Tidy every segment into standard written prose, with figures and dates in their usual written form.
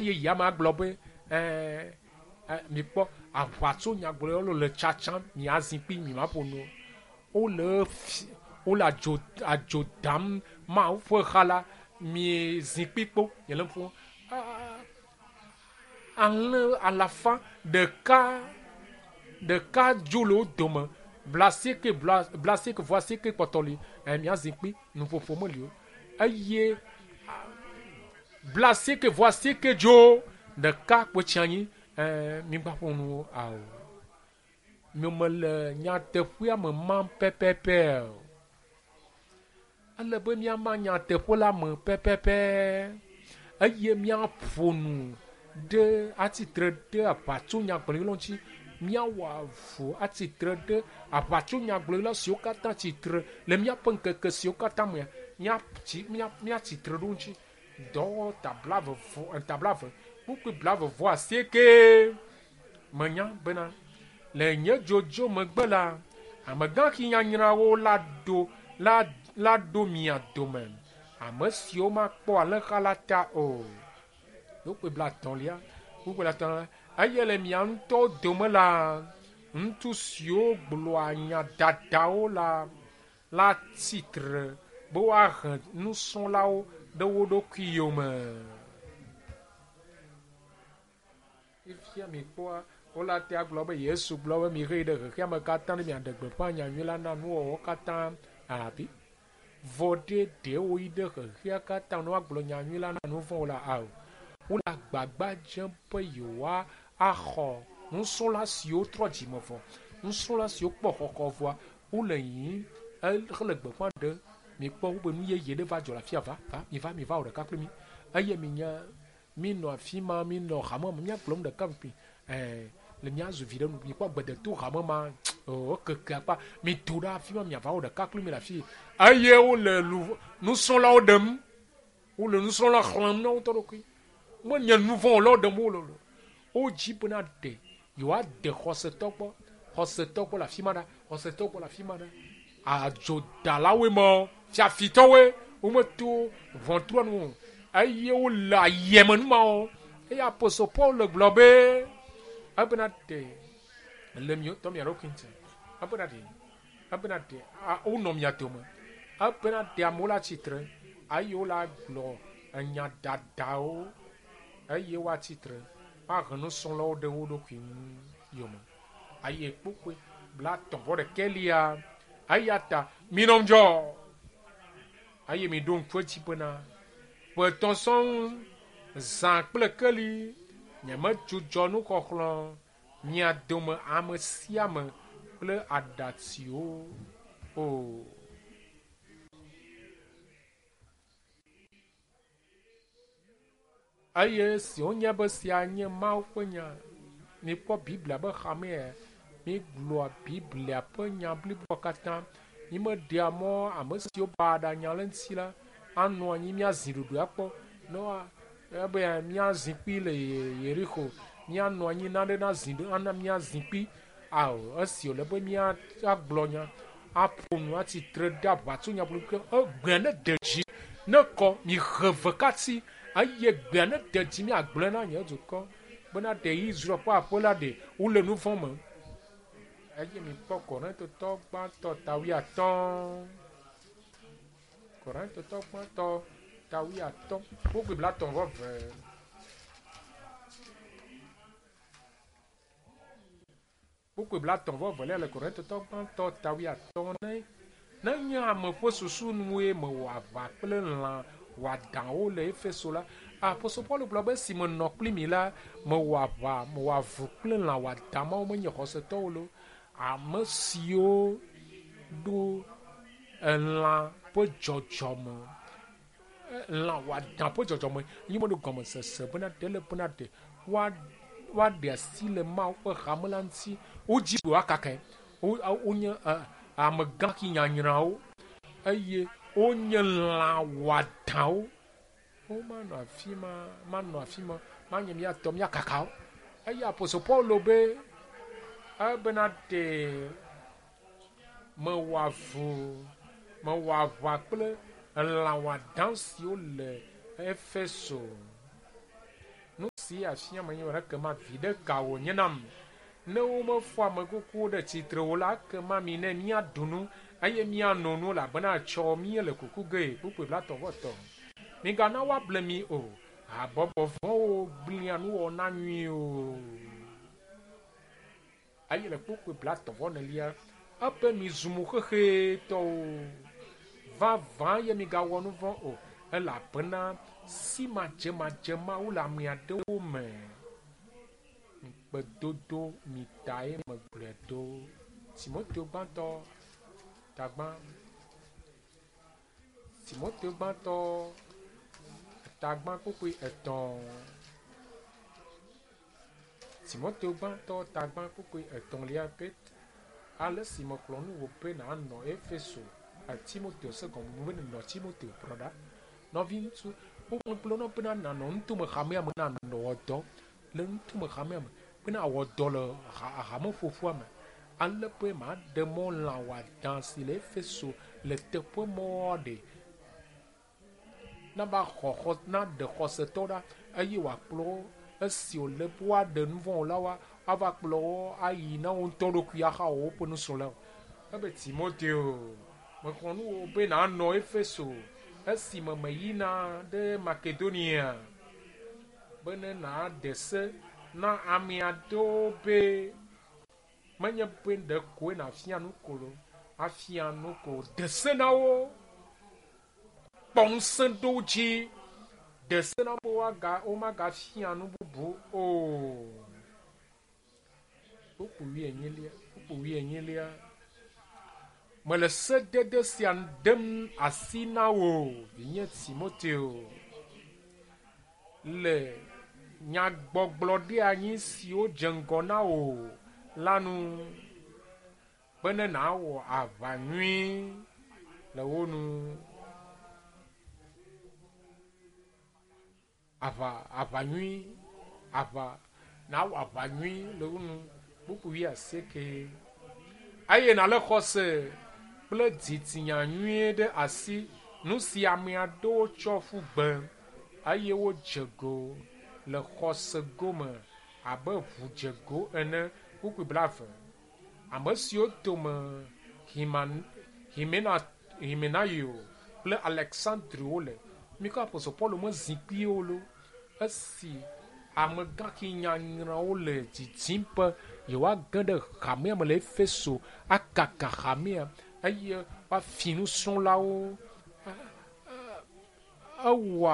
Eye yama gblɔ be ɛɛ mikpɔ aʋatso nyagblɔɖilawo le tsatsam miazi kpi mi ma ƒo nu o. Wole fi wole adzo adzo dam Mawu ƒe xa la mi zikpui kpo nye le ƒo alẽ alafa ɖeka ɖeka dzo le wo dome blasieke bla blasieke vɔ asieke kpɔtɔ li ɛ miazi kpi nuƒoƒo meli o eye blasieke vɔ asieke dzo ɖeka kpo tsi anyi ɛ migba ƒo nu ao. Nyemele nyateƒea me mam pɛpɛpɛ o. Ele be míama nyateƒe la me pɛpɛpɛ eye míaƒo nu ɖe atsitre ɖe aʋatsonyagblɔɖilawo ŋuti. Míawɔ avu atsitre ɖe aʋatsonyagblɔɖila siwo katã tsitre le míaƒe ŋkeke siwo katã mea, míatsi mía míatsitre ɖe wo ŋuti. Dɔwɔwɔ ta blaeve vɔ ta blaeve kpukpui blaeve vɔ asieke. Menya bena le nye dzodzo megbe la, amegãxi nyanyrawo la ɖo la la ɖo mia dome, ame siwo makpɔ alẽha la ta o. Kpukpui blaetɔ̃lia, kpukpui blaetɔ̃lia, eye le mia ŋutɔwo dome la, ŋutsu siwo gblɔa nya dadawo la la tsitre be woahe nusrɔ̃lawo ɖe wo ɖokui yome. Fifia mikpɔa, wole ate agblɔ be Yesu gblɔ be mihee ɖe xexea me katã ne miaɖe gbeƒã nyanyui la na nuwɔwɔ katã abi. Vɔ ɖe ɖe woyi ɖe xexea katã ne woagblɔ nyanyui la na nuvɔ̃wo la ao. Wole agbagba dzem be yewoa axɔ nusrɔ̃la siwo trɔ dzime vɔ, nusrɔ̃la siwo kpɔ xɔxɔ vɔa, wole yiyim hele gbeƒã ɖem. Mikpɔ wobe nu yeye ɖe va dzɔ le afia va va miva miva wɔ ɖeka kpli mi eye minya Minɔ afi ma, minɔ hame me, míagblɔ nu ɖeka ŋkui. Ɛɛ, le míazu vi ɖe nu. Mikpɔ gbedeto hame ma, oo, ekeke akpa. Mido ɖe afi ma, miava wɔ ɖeka kpli mi le afi. Eye wole lu, nusrɔ̃lawo ɖem. Wole nusrɔ̃la xlẽm na wo ŋutɔ ɖokui. Menye nu vɔ̃ wɔlawo ɖem wole o. Wodzi bena ɖe yewoade xɔsetɔ gbɔ, xɔsetɔ gbɔ le afi ma ɖa, xɔsetɔ gbɔ le afi ma ɖa. Adzodalawoe mɔ, fiafitɔwoe, wometo ʋɔtrua nu o, eye wole ayeme nu mawo. Eye apostol Paul le gblɔ be, ebena ɖe le mia ŋutɔ mia ɖokui ŋuti, ebena ɖe, ebena ɖe wonɔ mia dome, ebena ɖe amewo la tsitre eye wole agblɔ enya dadawo eye woatsitre woahe nusrɔ̃lawo ɖe wo ɖokui ŋu yome. Eye kpukpui blaetɔ̃ vɔ ɖekɛ lia. Eya ta minɔ ŋudzɔ eye miɖo ŋku edzi bena ƒe etɔ̃ sɔŋ, zã kple keli, nyemedzudzɔ nuxɔxlɔ̃ mia dome ame sia ame kple aɖatsiwo o. Eye esi wonye be sia nye Mawu ƒe nya, mikpɔ Biblia be xamea, migblɔa Biblia ƒe nya bliboa katã. Mimeɖea mɔ ame siwo baɖa nya le eŋuti la anɔ anyi míazi ɖoɖoe akpɔ ne woa ebe míazi kpi le Yerixo, míanɔ anyi naɖe nazi ɖo ana míazi kpi. Ao, esi wòle be míagblɔ nya, aƒo nu, atsi tre ɖe aʋatsonyagbɔgblɔ, egbea ne de dzi, ne kɔ, mihe vekati, eye gbea ne de dzi miagblɔe na nye dukɔ bena ɖe Israel ƒe aƒe la ɖe wole nu vɔ̃ me. Eye mikpɔ Korintotɔ gbãtɔ ta wuiatɔ̃. Korintotɔ gbãtɔ ta wuiatɔ̃, kpukpui blaetɔ̃ vɔ eve. Kpukpui blaetɔ̃ vɔ evelia le Korintotɔ gbãtɔ ta wuiatɔ̃ ne nenye ame ƒe susu nue mewɔ aʋa kple lã wɔadãwo le Efeso la, apostol Paulo gblɔ be esi menɔ kpli mi la, mewɔ aʋa, mewɔ avu kple lã wɔadã mawo menye xɔsetɔwo lo. Ame siwo ɖo elã ƒe dzɔdzɔme, lã wɔadã ƒe dzɔdzɔme ye meɖo gɔmesese bena ɖe le bena ɖe woa woaɖe asi le Mawu ƒe hame la ŋuti. Wodzi be woakakae. Wo wonye amegãxi nyanyrãwo eye wonye lã wɔadãwo. Womanɔ afi ma, manɔ afi ma, manye mía tɔ míakaka wo. Eye apostol Paulo be ebena ɖe mewɔ avu, mewɔ aʋa kple elã wɔadã siwo le Efeso. Nu si afia menye be ekema viɖe ka wònye nam? Ne womefɔ ame kukuwo ɖe tsitre o la, ekema mi ne míaɖu nu eye míano nu elabena etsɔ míele kuku gee. Kpukpui 33. Migana woable mi o. Habɔbɔ vɔ̃wo gblẽa nuwɔna nyuiwo. Eye le kpukpui 34 ebe mizu mo xexetɔwo. Vavã ye migawɔ nu vɔ̃ o elabena si madzemadze mawo le ame aɖewo me. Ŋukpedodo mi tae megblɔe ɖo. Timoteo gbãtɔ tagbã. Timoteo gbãtɔ tagbã kpukpui 3. Timoteo gbãtɔ tagbã kpukpui 3 pe ale si mekplɔ nu wò be nànɔ Efeso Timoteo se gɔme be nɔ Timoteo kplɔ ɖa. Nɔviŋutsu wogblɔ na bena nànɔ nutome hamea me nanɔ dɔ le nutome hamea me bena awɔ dɔ le hameƒoƒua me. Ale be maɖe mɔ lã wɔadã si le Efeso le teƒe mɔ ɖe nava xɔ naɖe xɔsetɔ ɖa eye wòakplɔ wo esi wòle be woaɖe nu vɔ̃ la woava kplɔ wo ayi na wo ŋutɔ ɖokui ahawɔ woƒe nusrɔ̃lawo. Ebe Timoteo, mexɔ nu wò be nànɔ Efeso esime meyina ɖe Makedonia bene nàde se na ame aɖewo be menye be ɖekoe nàfia nu ko lo, afia nu ko de se na wo, kpɔ ŋusẽ ɖo wo dzi, de se na wo be womagafia nu bubu o. Kpukpui 24. Mele sedede sia dem asi na wò, vinye Timoteo, le nyagbɔgblɔɖianyi siwo dze ŋgɔ na wò la nu, bene nàwɔ aʋa nyui le wo nu. Aʋa nyui, aʋa nàwɔ aʋa nyui le wo nu. Kpukpui 8. Eye nàlé xɔse kple dzitsinya nyuie ɖe asi, nu si ame aɖewo tsɔ ƒu gbe eye wodze go le xɔse gome abe ʋudzego ene. Kpukpui 20. Ame siwo dome Himenaio kple Aleksandriwo le. Mikɔ Apostol Paulo me zikpuiwo lo. Esi amegãxi nyanyrawo le didim be yewoage ɖe hamea me le Efeso akaka hamea eye woafi nusrɔ̃lawo. Ewɔ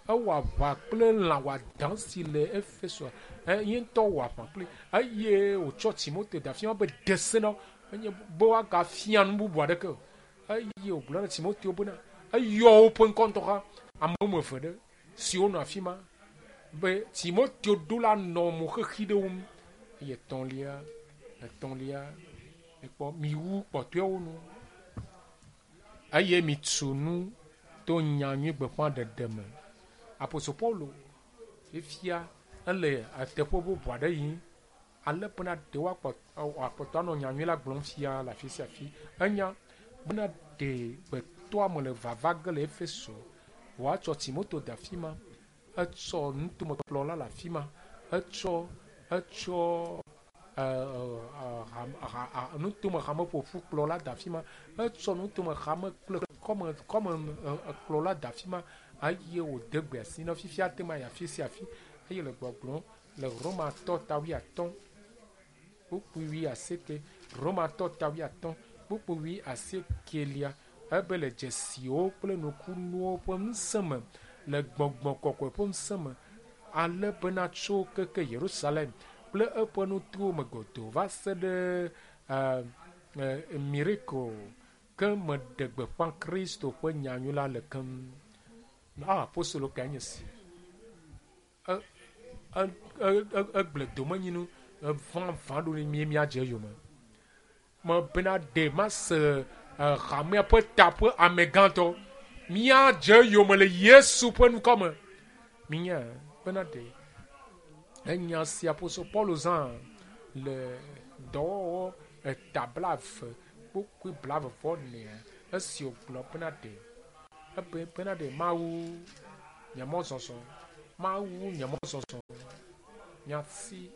aʋa kple lã wɔadã si le Efeso. Ye ŋutɔ wɔ aʋa kpli eye wòtsɔ Timoteo da fia be de se na wo enye be woagafia nu bubu aɖeke o. Eye wògblɔ na Timoteo bena eyɔ woƒe ŋkɔ ŋutɔ hã ame woame eve ɖe siwo nɔ afi ma be Timoteo ɖo la nɔ mo xexi ɖe wo ŋu. Eye etɔ̃lia, mikpɔ miwu kpɔtɔewo nu eye mitu nu to nya nyui gbeƒãɖeɖe me. Apostol Paulo fifia ele teƒe bubu aɖe yim ale bena ɖe woakpɔtɔ anɔ nya nyui la gblɔm fia le afi sia afi. Enya bena ɖe gbetɔame le vava ge le Efeso woatsɔ Timoteo de afi ma, etsɔ nutomekplɔla le afi ma, etsɔ nutome hameƒoƒu kplɔla de afi ma, etsɔ nutome hame kple kɔme kplɔla de afi ma eye wòde gbe asi na fifia te ma yi afi sia afi eye le gbɔgblɔm le Romatɔ ta 80 kpukpui 80 Romatɔ ta 80 kpukpui 80 ebe le dzesiwo kple nukunuwo ƒe ŋusẽ me le gbɔgbɔ kɔkɔe ƒe ŋusẽ me ale bena tso keke Yerusalem kple eƒe nutowo me godoo va se ɖe Miriko ke meɖe gbeƒã Kristo ƒe nyanyui la le keŋ. Apostolo kae nye si? Egblẽ domenyinu vavã ɖo ne míadze eyome. Mebena ɖe mase hamea ƒe ta ƒe amegãtɔ. Míadze eyome le Yesu ƒe ŋkɔ me. Minya bena ɖe enya si Apostol Paulo zã le dɔwɔwɔ eta 20 kpukpui 24 esi wògblɔ bena ɖe ebe bena ɖe Mawu nye mɔzɔzɔ. Mawu nye mɔzɔzɔ, nyati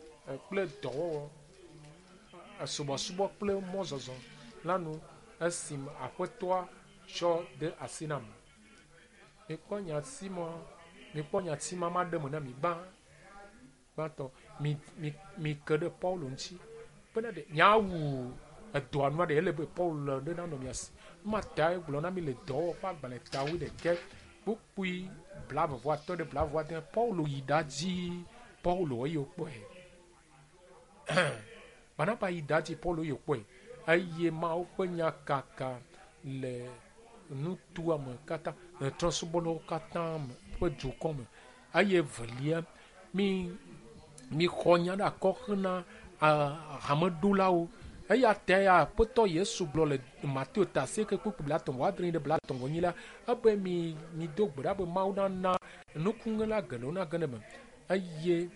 kple dɔwɔwɔ, subɔsubɔ kple mɔzɔzɔ la nu esime Aƒetɔa tsɔ de asi nam. Mikpɔ nyati ma, mikpɔ nyati ma maɖe me na mi gbã. Gbãtɔ, mi, mi, mike ɖe Paulo ŋuti bena ɖe miawu edɔa nua ɖe ele be Paulo ɖe nanɔ mia si. Numa tae gblɔ na mi le dɔwɔwɔ ƒe agbalẽ ta wuiɖekɛ kpukpui blaeve-vɔ-atɔ̃ ɖe blaeve-vɔ-ade. Paulo yi ɖadzi Paulo eye wokpɔe. Barnaba yi ɖadzi Paulo eye wokpɔe. Eye Mawu ƒe nya kaka le nutoa me katã, le trɔ̃subɔlawo katã me ƒe dukɔ me. Eye evelia, mi mixɔ nya ɖe akɔ hena hameɖolawo. Eya tae Aƒetɔ Yesu gblɔ le Mateo ta asieke kpukpui blaetɔ̃ vɔ adre ɖe blaetɔ̃ vɔ enyi la, ebe mi mido gbe ɖa be Mawu nana nukuŋela geɖewo nage ɖe eme. Eye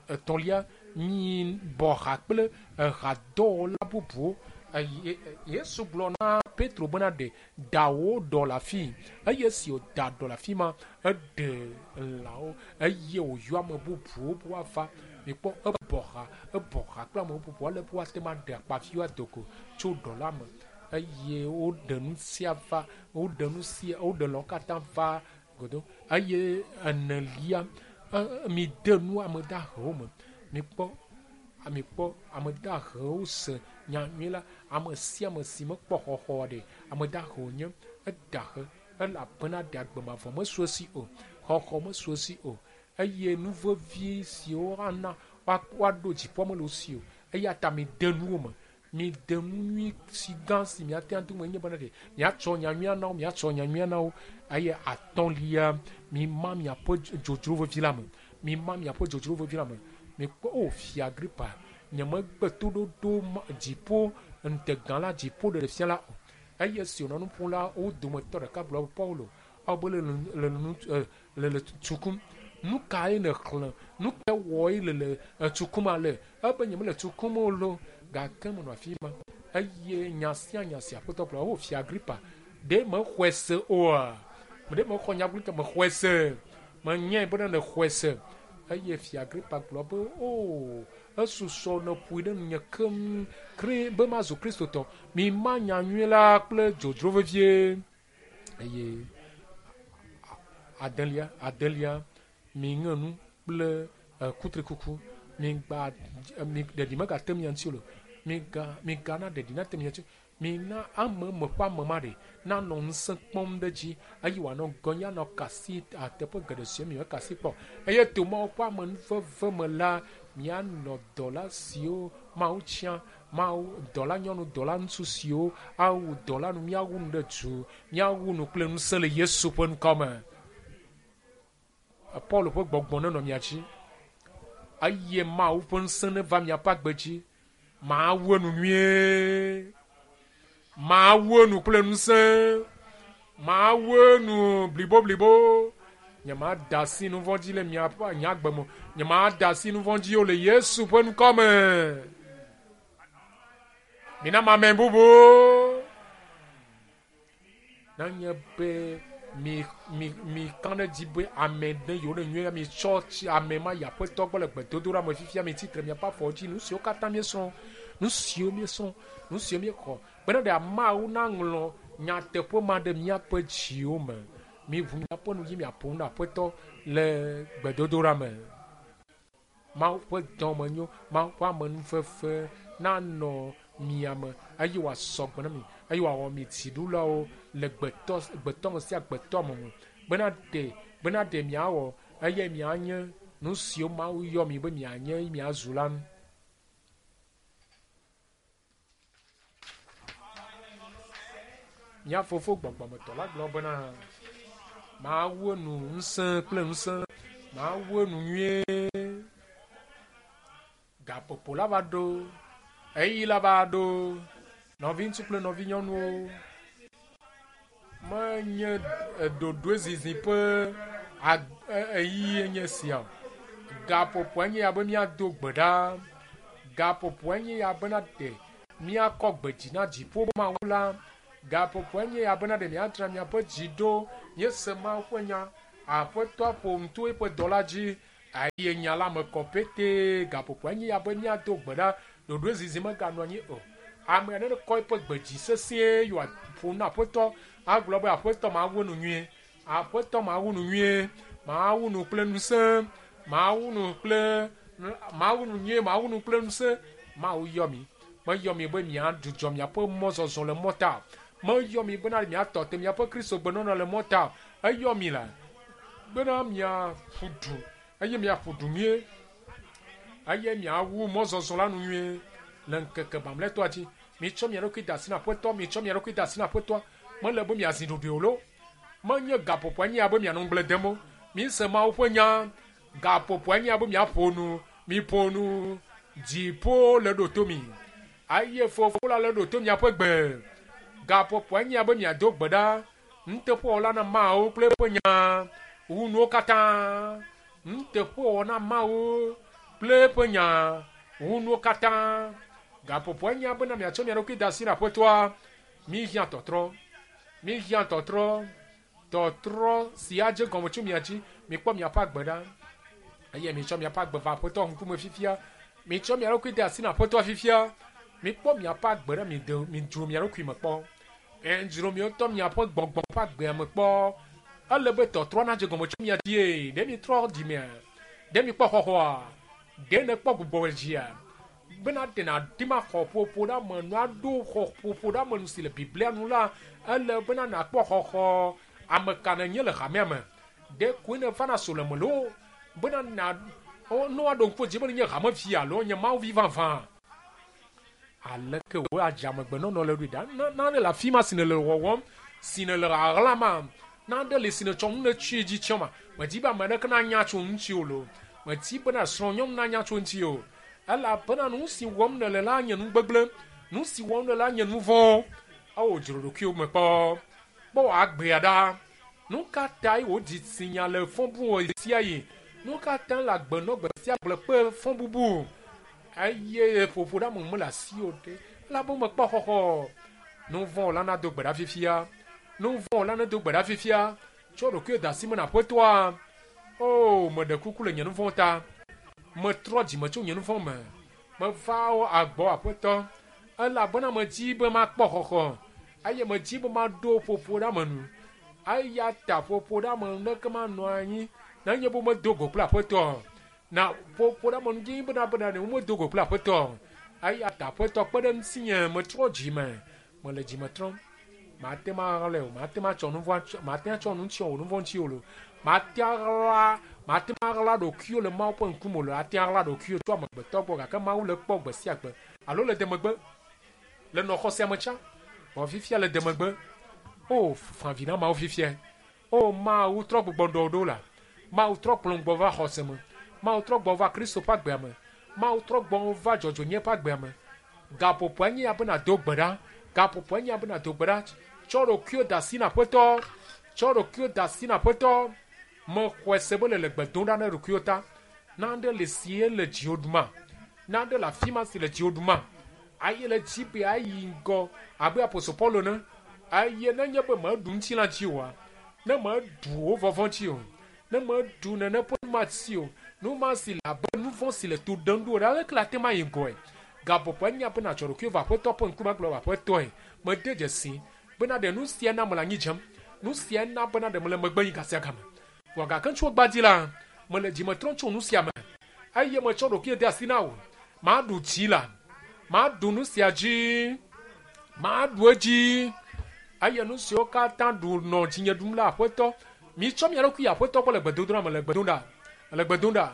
etɔ̃lia, mi bɔ ha kple ehadɔwɔla bubuwo. Eye Yesu gblɔ na Petro bena ɖe da wò ɖɔ le afii. Eye esi wòda ɖɔ le afi ma, eɖe lãwo eye wòyɔ ame bubuwo be woava. Mikpɔ ebɔ ha, ebɔ ha kple ame bubuwo ale be woate ŋu aɖe akpaviwo ado go tso ɖɔ la me. Eye woɖe nu sia va, woɖe nu sia, woɖe lãwo katã va godo. Eye enelia, mide nu ame dahewo me. Mikpɔ, mikpɔ ame dahewo se nya nyui la. Ame sia ame si mekpɔ xɔxɔ ɖe, ame dahe wònye, edahe elabena ɖe agbe mavɔ mesu esi o, xɔxɔ mesu esi o. Eye nu vevi siwo ana woaɖo dziƒoa mele wo si o. Eya ta mide nu wo me. Mide nu nyui si gã si miate ŋu ado me nye bena ɖe miatsɔ nya nyuia na wo, miatsɔ nya nyuia na wo. Eye atɔ̃lia, mima miaƒe dzodzro vevi la me. Mima miaƒe dzodzro vevi la me. Mikpɔ, o fia Agripa, nyemegbe toɖoɖo dziƒo ŋutegã la, dziƒo ɖeɖefia la o. Eye esi wònɔ nu ƒom la, wo dometɔ ɖeka gblɔ be, Paulo, ewɔ be le le le le tsu kum. Nu kae nèxlẽ? Nu kae wɔe le le tsu kum ale? Ebe nyemele tsu kum o lo, gake menɔ afi ma. Eye nya sia nya si Aƒetɔ gblɔ, o fia Agripa, ɖe mexɔe se oa? Ɖe mexɔ nya gblɔ mexɔe se. Menyae bena nèxɔe se. Eye fia Agripa gblɔ be, o, esusɔ nèƒoe ɖe nunye keŋ kri be mazu Kristotɔ. Mima nya nyui la kple dzodzro vevie. Eye adelia, adelia, miŋe nu kple kutrikuku. Migba, mi ɖeɖi megate mia ŋuti o. Miga, migana ɖeɖi nate mia ŋuti. Mina ame me ƒe ame ma ɖe nanɔ ŋusẽ kpɔm ɖe dzi eye wòanɔ gɔnya nɔ kasi teƒe geɖe si mi kasi kpɔ. Eye to Mawu ƒe amenuveve me la, mianɔ dɔla siwo Mawu tia, Mawu dɔla nyɔnu, dɔla ŋutsu siwo awu dɔla nu, miawu nu ɖe du, miawu nu kple ŋusẽ le Yesu ƒe ŋkɔ me. Paul ƒe gbɔgbɔ nenɔ mia dzi eye Mawu ƒe ŋusẽ neva miaƒe agbe dzi. Mawu enu nyuie. Mawu enu kple ŋusẽ. Mawu enu bliboblibo. Nyemada asi nu vɔ̃ dzi le miaƒe nye agbe me. Nyemada asi nu vɔ̃ dzi o le Yesu ƒe ŋkɔ me. Mina mame bubu. Nenye be mi mi mi ka ɖe dzi be ame ɖe yiwo le nyuie mi tsɔ tsi ame ma yi Aƒetɔ gbɔ le gbedodoɖa me fifia mi tsitre miaƒe afɔwo dzi. Nu siwo katã míesrɔ̃, nu siwo míesrɔ̃, nu siwo míexɔ bena ɖe ameawo naŋlɔ nyateƒe ma ɖe míaƒe dziwo me. Miʋu miaƒe nu dzi miaƒo nu na Aƒetɔ le gbedodoɖa me. Mawu ƒe dɔmenyo, Mawu ƒe amenuveve nanɔ mia me eye wòasɔ gbe na mi eye wòawɔ mi dziɖulawo le gbetɔ gbetɔme sia gbetɔme me bena ɖe bena ɖe miawɔ eye mianye nu siwo Mawu yɔ mi be mianye eye miazu la nu. Mía fofo gbɔgbɔmetɔ la gblɔ bena, Mawu enu ŋusẽ kple ŋusẽ, Mawu enu nyuie. Gaƒoƒo la va ɖo, ɣeyiɣi la va ɖo. Nɔviŋutsu kple nɔvinyɔnuwo, menye ɖoɖoe zizi ƒe ɣeyiɣi nye sia o. Gaƒoƒoa nye ya be míado gbe ɖa. Gaƒoƒoa nye ya bena ɖe míakɔ gbe dzi na dziƒo Mawu la. Gaƒoƒoa nye ya bena ɖe míadzra míaƒe dzi ɖo. Míese Mawu ƒe nya. Aƒetɔa ƒo nu to eƒe dɔla dzi eye nya la me kɔ petee. Gaƒoƒoa nye ya be míado gbe ɖa. Ɖoɖoe zizi meganɔ anyi o. Ame aɖe nekɔ eƒe gbe dzi sesĩe ye wòaƒo nu na Aƒetɔ agblɔ be, Aƒetɔ, mawu nu nyuie. Aƒetɔ, mawu nu nyuie. Mawu nu kple ŋusẽ. Mawu nu kple, mawu nu nyuie, mawu nu kple ŋusẽ. Mawu yɔ mi. Meyɔ mi be miadzudzɔ miaƒe mɔzɔzɔ le mɔta o. Meyɔ mi bena miatɔ te miaƒe Kristo gbenɔnɔ le mɔta o. Eyɔ mi la bena miaƒu du eye miaƒu du nyuie eye miawu mɔzɔzɔ la nu nyuie le ŋkeke mamlɛtɔa dzi. Mitsɔ mia ɖokui de asi na Aƒetɔ, mitsɔ mia ɖokui de asi na Aƒetɔa. Mele be miazi ɖoɖoe o loo. Menye gaƒoƒoa nye ya be mianɔ ŋugble dem o. Mise Mawu ƒe nya. Gaƒoƒoa nye ya be miaƒo nu. Miƒo nu. Dziƒo le ɖo to mi. Eye Fofo la le ɖo to miaƒe gbe. Gaƒoƒoa nye ya be miado gbe ɖa. Nuteƒewɔla na Mawu kple eƒe nya wu nuwo katã. Nuteƒewɔwɔ na Mawu kple eƒe nya wu nuwo katã. Gaƒoƒoa nye ya bena miatsɔ mia ɖokui de asi na Aƒetɔa. Míhiã tɔtrɔ. Míhiã tɔtrɔ. Tɔtrɔ si adze gɔme tso mia dzi. Mikpɔ miaƒe agbe ɖa. Eye mitsɔ miaƒe agbe va Aƒetɔ ŋkume fifia. Mitsɔ mia ɖokui de asi na Aƒetɔa fifia. Mikpɔ miaƒe agbe ɖa, mide, midzro mia ɖokui me kpɔ. Edzro miwo ŋutɔ miaƒe gbɔgbɔ ƒe agbea me kpɔ. Ele be tɔtrɔ nadze gɔme tso mia dzie. Ɖe mitrɔ dzimea? Ɖe mikpɔ xɔxɔa? Ɖe nèkpɔ gbugbɔ dzia? Bena ɖe nàdi ma xɔ ƒoƒo ɖe ame nu aɖo xɔ ƒoƒo ɖe ame nu si le Biblia nu la, ele bena nàkpɔ xɔxɔ. Ame ka nènye le hamea me? Ɖe koe nèvana sɔleme loo bena na ne woaɖo ŋku edzi be nenye hamevi alo nye Mawuvi vavã? Aleke wò adzamegbenɔnɔ le ɖoe ɖa? Na, nane le afi ma si nèle wɔwɔm, si nèle ɣaɣlama, nane li si nètsɔ nu nètsi dzi tsyɔ ma. Medi be ame aɖeke nanya tso ŋuti o loo. Medi bena srɔ̃nyɔnu nanya tso ŋuti o. Elabena nu si wɔm nèle la nye nu gbegblẽ. Nu si wɔm nèle la nye nu vɔ̃. Eo dzro ɖokuiwò me kpɔ. Kpɔ wò agbea ɖa. Nu ka tae wò dzitsinya le fɔ bum ɣesiaɣi? Nu ka tae le agbe nɔ gbe sia gbe kple fɔbubu? Eye ƒoƒo ɖe ame mele asiwò ɖe, elabe mekpɔ xɔxɔ o. Nu vɔ̃ wɔla nado gbe ɖa fifia. Nu vɔ̃ wɔla nedo gbe ɖa fifia. Tsɔ ɖokuiwò de asi me na Aƒetɔa. Oo, meɖe kuku le nye nu vɔ̃ ta. Metrɔ dzime tso nye nu vɔ̃ me. Meva agbɔ Aƒetɔ, elabena medi be makpɔ xɔxɔ, eye medi be maɖo ƒoƒo ɖe ame nu. Eya ta ƒoƒo ɖe ame nu ɖeke manɔ anyi nenye be womedo go kple Aƒetɔ o. Na ƒoƒo ɖe ame nu dzi bena bena ne womedo go kple Aƒetɔ o. Eya ta Aƒetɔ kpe ɖe ŋutinye, metrɔ dzime, mele dzime trɔm. Mate ŋu aɣlae o, mate ŋu atsɔ nu vɔ̃, mate ŋu atsɔ nu tsyɔ wò nu vɔ̃ ŋuti o loo. Mate ŋu aɣla, mate ŋu aɣla ɖokuiwò le Mawu ƒe ŋkume o loo. Ate ŋu aɣla ɖokuiwò tso amegbetɔ gbɔ gake Mawu le ekpɔ gbe sia gbe alo le demegbe. Le nɔ xɔ sia me tsã, vɔ fifia le demegbe. O, fa vi na Mawu fifia. O, Mawu trɔ gbugbɔ ɖɔ ɖo la. Mawu trɔ kplɔm gbɔ va xɔse me. Mawu trɔ gbɔ va Kristo ƒe agbea me. Mawu trɔ gbɔ va dzɔdzɔenye ƒe agbea me. Gaƒoƒoa nye ya be nàdo gbe ɖa. Gaƒoƒoa nye ya be nàdo gbe ɖa. Tsɔ ɖokuiwò de asi na Aƒetɔ. Tsɔ ɖokuiwò de asi na Aƒetɔ. Mexɔe se be nèle gbe dom ɖa na ɖokuiwò ta. Nane li si le dziwò ɖuma? Nane le afi ma si le dziwò ɖuma? Eye le dzi be ayi ŋgɔ abe apostol Paulo ene. Eye nenye be mèɖu ŋutilã dzi oa, ne mèɖu wò vɔvɔ̃ dzi o, ne mèɖu nene ƒe nu ma dzi o, nu ma si le abe nu vɔ̃ si le to ɖem ɖo ene, aleke nàte ŋu ayi ŋgɔe? Gaƒoƒo enya be nàdzɔ ɖokuiwò va Aƒetɔ ƒe ŋkume agblɔ be, Aƒetɔe, mede dzesi bena ɖe nu sia na mele anyi dzem, nu sia na bena ɖe mele megbe yim gasiagame. Vɔ gake tso egbea dzi la, mele dzime trɔm tso nu sia me, eye metsɔ ɖokuinye de asi na wò. Maɖu dzi la, maɖu nu sia dzi, maɖu edzi, eye nu siwo katã ɖu nɔ dzinye ɖum la, Aƒetɔ, mitsɔ mia ɖokui yi Aƒetɔ gbɔ le gbedodoɖa me, le gbe dom ɖa, le gbe dom ɖa,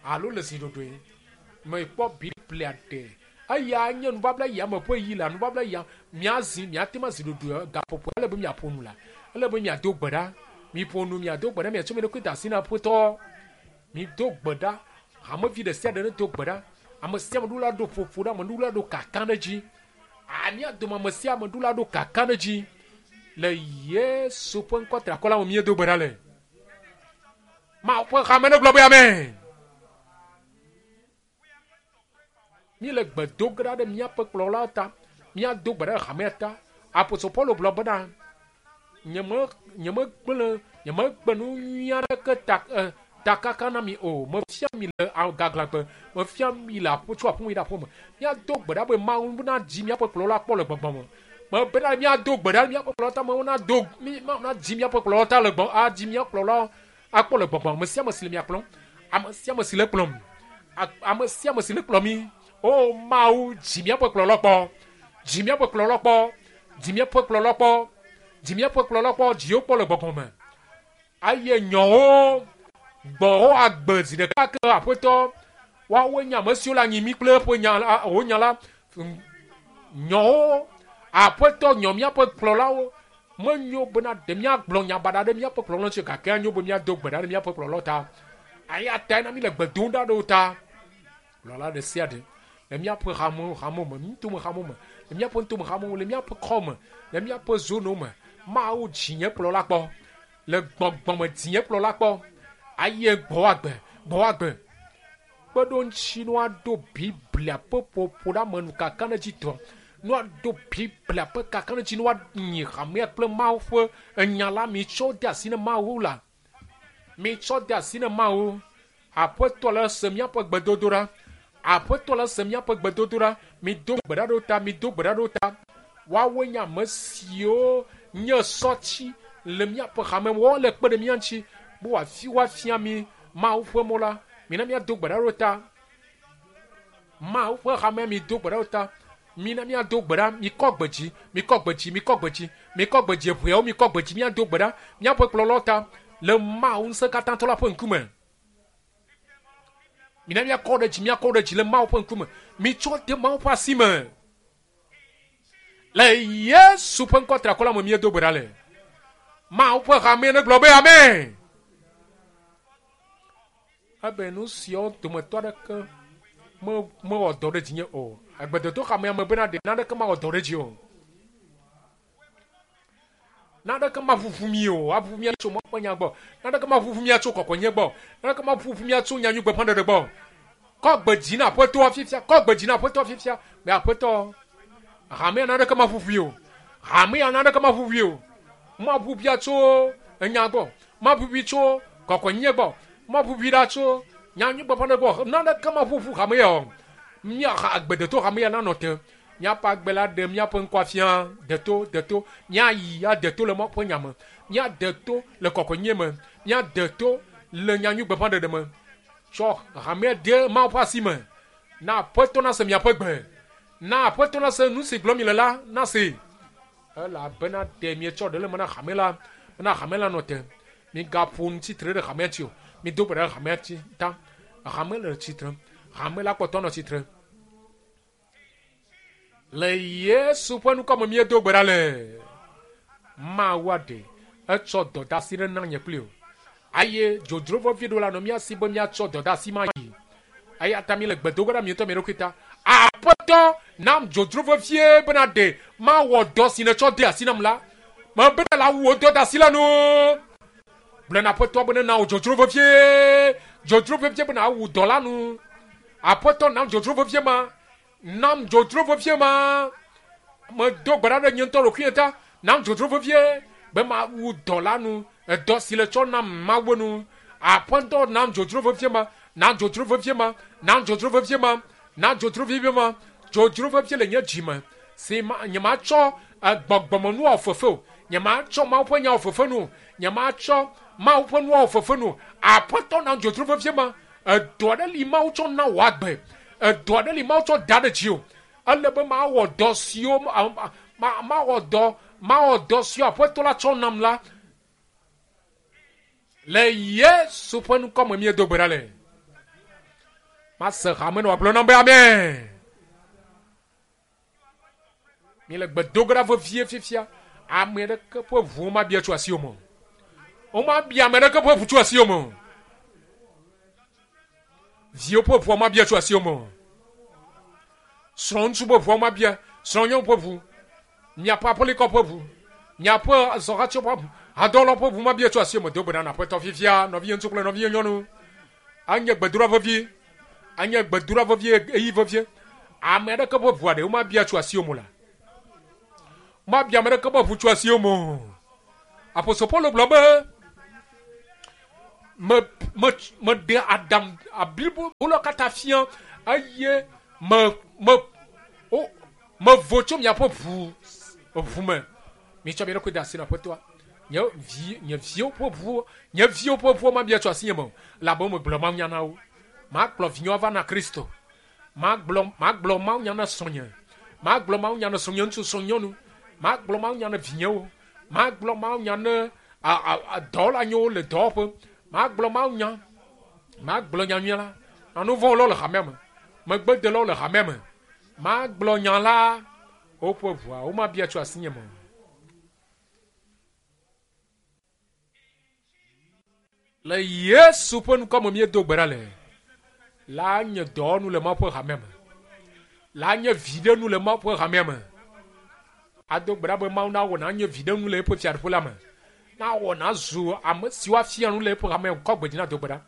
alo le zi ɖoɖoe. Mekpɔ Biblia ɖe. Eya nye nubabla ya me ƒe ɣi la, nubabla ya miazi, miate ŋu azi ɖoɖoe gaƒoƒo ele be miaƒo nu la, ele be miado gbe ɖa. Miƒo nu, miado gbe ɖa, miatsɔ mia ɖokui de asi na Aƒetɔ. Mido gbe ɖa. Hamevi ɖe sia ɖe nedo gbe ɖa. Ame sia ame ɖo la ɖo ƒoƒo ɖe ame ɖo la ɖo kaka ɖe dzi. A mía dome ame sia ame ɖo la ɖo kaka ɖe dzi. Le Yesu ƒe ŋkɔ triakɔ la me míedo gbe ɖa le. Mawu ƒe hame negblɔ be amen. Míele gbe do ge ɖa ɖe míaƒe kplɔlawo ta. Míado gbe ɖe hamea ta. Apostol Paulo gblɔ bena, Nyeme, nyemegblẽ Nyemegbe nu nyui aɖeke ta e, takaka na mi o. Mefia mi le gaglãgbe. Mefia mi le aƒe tso aƒeme yi ɖe aƒeme. Míado gbe ɖa be Mawu nadzi míaƒe kplɔla kpɔ le gbɔgbɔ me. Mebena míado gbe ɖa míaƒe kplɔla ta Mawu nado mí Mawu nadzi míaƒe kplɔla ta le gbɔ adzi mía kplɔla akpɔ le gbɔgbɔ ame sia ame si le mia kplɔm. Ame sia ame si le kplɔm. Ame sia ame si le kplɔ mí. O Mawu dzi míaƒe kplɔla kpɔ. Dzi míaƒe kplɔla kpɔ. Dzi míaƒe kplɔla kpɔ. Dzi míaƒe kplɔla kpɔ. Dziwo kpɔ le gbɔgbɔ me. Eye nyɔwo gbɔwo agbe zi ɖeka ke aƒetɔ woawoe nye ame siwo le anyi mí kple eƒe nya la wò nya la nyɔwo aƒetɔ nyɔ míaƒe kplɔlawo menyo bena ɖe míagblɔ nya baɖa ɖe míaƒe kplɔlawo ŋuti gake anyo be míado gbe ɖa ɖe míaƒe kplɔlawo ta eya tae na mí le gbe dom ɖa ɖe wo ta kplɔla ɖe sia ɖe le míaƒe hamewo hamewo me nutome hamewo me le míaƒe nutome hamewo le míaƒe kɔ me le míaƒe zonowo me Mawu dzi nye kplɔla kpɔ le gbɔgbɔme dzi nye kplɔla kpɔ aye gbɔ agbe gbɔ agbe kpeɖoŋuti nu aɖo Biblia ƒe ƒoƒoɖeamenu kakaɖedzitɔ nu aɖo Biblia ƒe kakaɖedzi nu anyi hamea kple Mawu ƒe enya la mitsɔ de asi ne Mawu la mitsɔ de asi ne Mawu aƒetɔ la se míaƒe gbedodoɖa aƒetɔ la se míaƒe gbedodoɖa mido gbe ɖa ɖo ta mido gbe ɖa ɖo ta woawoe nye ame siwo nye sɔtsi le míaƒe hame woawo le kpe ɖe mía ŋuti be wòafi woafia mi Mawu ƒe mɔ la mina míado gbe ɖa ɖo ta Mawu ƒe hamea mido gbe ɖa ɖo ta mina míado gbe ɖa mikɔ gbe dzi mikɔ gbe dzi mikɔ gbe dzi mikɔ gbe dzi eʋeawo mikɔ gbe dzi míado gbe ɖa míaƒe kplɔlawo ta le Mawu ŋusẽkatãtɔ la ƒe ŋkume mina míakɔ ɖe dzi míakɔ ɖe dzi le Mawu ƒe ŋkume mitsɔ de Mawu ƒe asi me le Yesu ƒe ŋkɔ triakɔ la me míedo gbe ɖa le Mawu ƒe hamea negblɔ be amen ebe nu siawo dometɔ aɖeke mewɔ dɔ ɖe dzinye o agbedodo hamea me bena ɖe naneke mawɔ dɔ ɖe dzi o naneke maʋuʋu mi o aʋuʋu mia tso Mawu ƒe nya gbɔ naneke maʋuʋu mia tso kɔkɔenye gbɔ naneke maʋuʋu mia tso nyanyui gbeƒãɖeɖe gbɔ kɔ gbe dzi na aƒetɔa fifia kɔ gbe dzi na aƒetɔa fifia be aƒetɔ hamea naneke maʋuʋui o hamea naneke maʋuʋui o maʋuʋuia tso enya gbɔ maʋuʋui tso kɔkɔenye gbɔ maʋuʋui ɖa tso nyanyui gbeƒãɖeɖe gbɔ naneke maʋuʋu hamea o mía agbedeto hamea nanɔ te míaƒe agbe la ɖe míaƒe ŋkɔ afia deto deto míayi ade to le Mawu ƒe nya me míade to le kɔkɔenye me míade to le nyanyui gbeƒãɖeɖe me tsɔ hamea de Mawu ƒe asi me na aƒetɔ nase miaƒe gbe na aƒetɔ nase nu si gblɔm mi le la nase elabena ɖe mietsɔ ɖe le me na hame la na hame la nɔ te migaƒo nu tsitre ɖe hamea ŋuti o mido gbe ɖe hamea ŋuti ta hame le tsitre hame la kpɔtɔ nɔ tsitre le Yesu ƒe ŋkɔ me míedo gbe ɖa le Mawu aɖe etsɔ dɔdeasi ɖe na nye kpli o eye dzodzro vevie ɖo la nɔ mía si be míatsɔ dɔdeasi ma yi eya ta míele gbe do ge ɖa mi ŋutɔ mia ɖokui ta aƒetɔ nam dzodzro vevie bena ɖe mawɔ dɔ si nètsɔ de asi nam la mebena la wu wò dɔdeasi la nu gblɔ na aƒetɔ be nena wò dzodzro vevie dzodzro vevie bena awu dɔ la nu aƒetɔ nam dzodzro vevie ma nam dzodzro vevie ma medo gbe ɖa ɖe nye ŋutɔ ɖokuinye ta nam dzodzro vevie be mawu dɔ la nu edɔ si le tsɔ nam mawu nu aƒetɔ nam dzodzro vevie ma nam dzodzro vevie ma nam dzodzro vevie ma nam dzodzro vevie ma dzodzro vevie le nye dzi me si ma nye matsɔ gbɔgbɔmenu wɔ fefe o nye matsɔ Mawu ƒe nya wɔ fefe nu o nye matsɔ Mawu ƒe nu wɔ fefe nu o aƒetɔ nam dzodzro vevie ma edɔ aɖe li Mawu tsɔ na wò agbe edɔ aɖe li Mawu tsɔ da ɖe dzi o ele be mawɔ dɔ siwo mawɔ dɔ mawɔ dɔ siwo aƒetɔ la tsɔ nam la le Yesu ƒe ŋkɔ me míedo gbe ɖa le mase hame nɔ wòagblɔ nam be amen míele gbe do ge ɖa vevie fifia ame aɖeke ƒe ʋu womabia tso asiwò me o womabia ame aɖeke ƒe ʋu tso asiwò me o viwo ƒe ʋua mabia tso asiwò me o srɔ̃ŋutsu ƒe ʋua mabia srɔ̃nyɔnu ƒe ʋu miaƒe aƒelikɔ ƒe ʋu miaƒe zɔhatsiwo ƒe ʋu hadɔwɔlawo ƒe ʋu mabia tso asiwò me do gbe ɖa na aƒetɔ fifia nɔvinye ŋutsu kple nɔvinye nyɔnu anye gbedoɖa vevie anye gbedoɖa vevie eyi vevie ame aɖeke ƒe ʋua ɖe womabia tso asiwò me o la mabia ame aɖeke ƒe ʋu tso asiwò me o apostol Paulo gblɔ be Me me meɖe aɖaŋu blibo la katã fia eye me me wo mevo tso miaƒe ʋu ʋu me. Mitsɔ mia ɖokui de asi na Aƒetɔa. Nye vi nye viwo ƒe ʋu nye viwo ƒe ʋuwo mabia tso asinye me o elabe megblɔ mawunya na wo. Makplɔ vinyewo ava na Kristo. Magblɔ magblɔ mawunya na srɔ̃nye. Magblɔ mawunya na srɔ̃nye ŋutsu srɔ̃nyɔnu. Magblɔ mawunya na vinyewo. Magblɔ mawunya na dɔwɔlanyewo le dɔwɔƒe. Magblɔ mawunya. Magblɔ nyanyuia la na nu vɔ̃wɔlawo le hamea me. Megbedelawo le hamea me. Magblɔ nya la woƒe ʋua womabia tso asinye me o. Le Yesu ƒe ŋkɔ me míedo gbe ɖa le. La nye dɔwɔnu le Mawu ƒe hamea me. La nye viɖenu le Mawu ƒe hamea me. Ado gbe ɖa be Mawu nawɔ nanye viɖenu le eƒe fiaɖuƒe la me. Nawɔ nazu ame siwo afia nu le eƒe hamea me. Kɔ gbe dzi na do gbe ɖa.